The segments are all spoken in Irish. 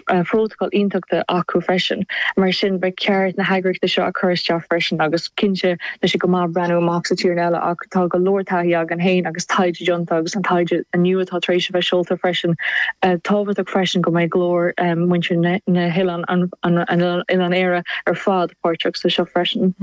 phrótacal iontacha acu freisin. Mar sin, ba cheart na heagraíochtaí seo a chur isteach freisin agus cinnte tá sé go maith breathnú amach sa tír eile ach tá go leor taithí againn féin agus taighde déanta agus an taighde inniu atá tar éis a bheith seolta freisin. Tábhachtach freisin go mbeidh glór muintir na hoileán, Oileán Éire ar fad páirteach sa seo freisin.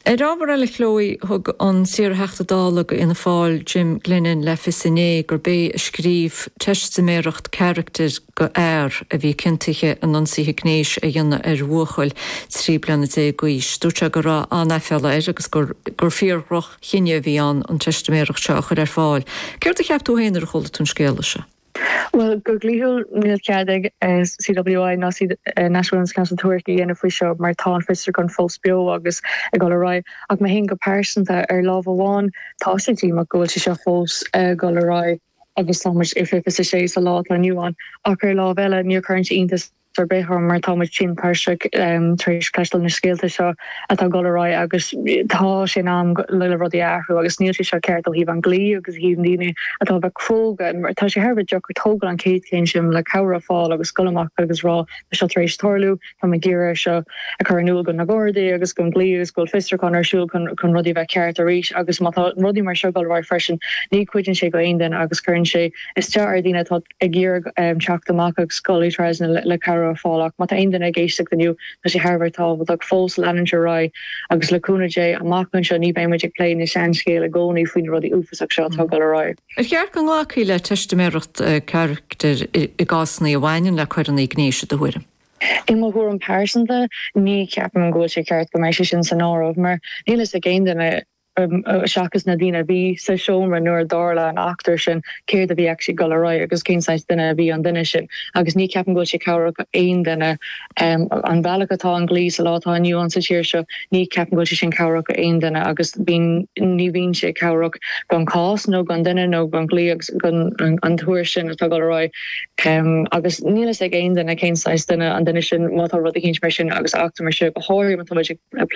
Ar ábhar eile, Chloe, thug an t-iar-Theachta Dála do Fhianna Fáil, Jim Glennon, le fios inné gurb é a scríobh teistiméireacht carachtair do fhear a bhí ciontaithe in ionsaithe gnéis a dhéanamh ar bhuachaill 13 bliana d'aois. Dúirt sé go raibh an-aiféala air agus gur gur fíor-dhroch-chinneadh a bhí ann an teistiméireacht seo a chur ar fáil. Céard a cheap tú féin nuair a chuala tú an scéala seo? Bhuel, go dlíthiúil níl cead ag CWI ná National Women's Council tuairisc a dhéanamh faoi seo mar tá an fiosrúchán fós beo agus ag dul ar aghaidh. Ach mé féin go pearsanta, ar lámh amháin tá sé díomách go bhfuil sé seo fós ag dul ar aghaidh agus tá muid i 2026 sa lá atá inniu ann ach ar lámh eile ní chuireann sé iontas ar bith orm mar tá muid tinn tuirseach tar éis cloisteáil na scéalta seo atá ag dul ar aghaidh agus tá sé in am le rudaí a athrú agus níl sé seo ceart ó thaobh an dlí agus ó thaobh na daoine atá a bheith cróga mar tá sé thar a bheith deacair tógáil an chéad chéim sin le cabhair a fáil agus dul amach agus rá tá seo tar éis tarlú, tá mé ag iarraidh seo a chur in iúl go na Gardaí agus don dlí agus go bhfuil fiosrúchán ar siúl chun chun rudaí a bheith ceart arís agus má tá rudaí mar seo ag dul ar aghaidh freisin ní chuidíonn sé go aon duine agus cuireann sé isteach ar dhaoine atá ag iarraidh teacht amach agus dul trasna le cabhair a fháil ach má tá aon duine ag éisteacht inniu tá sé thar a bheith tábhachtach fós leanúint ar aghaidh agus le cúnamh Dé amach anseo ní bheidh muid ag plé na seanscéal i gcónaí faoi na rudaí uafásach seo atá ag dul ar aghaidh. Ar cheart go nglacfaí le teistiméireacht carachtair i gcásanna a bhaineann le coireanna gnéis i do thuairim? I mo thuairim pearsanta ní cheapaim go bhfuil sé ceart go mbeidh sé sin san áireamh mar níl fhios ag aon duine seachas na daoine a bhí sa seomra nuair a tharla an eachtra sin, céard a bhí actually ag dul ar aghaidh agus cén saghas duine a bhí an duine sin. Agus ní ceapaim go bhfuil sé cabhrach aon duine. An bealach atá an dlí sa lá atá inniu ann sa tír seo, ní ceapaim go bhfuil sé sin cabhrach aon duine agus bíonn, ní bhíonn sé cabhrach don chás nó don duine nó don dlí agus don an tuairisc sin atá ag dul ar aghaidh. Agus níl fhios ag aon duine cén saghas duine an duine sin má tá rud eicínt mar sin agus eachtra mar seo go háirithe má tá muid ag plé.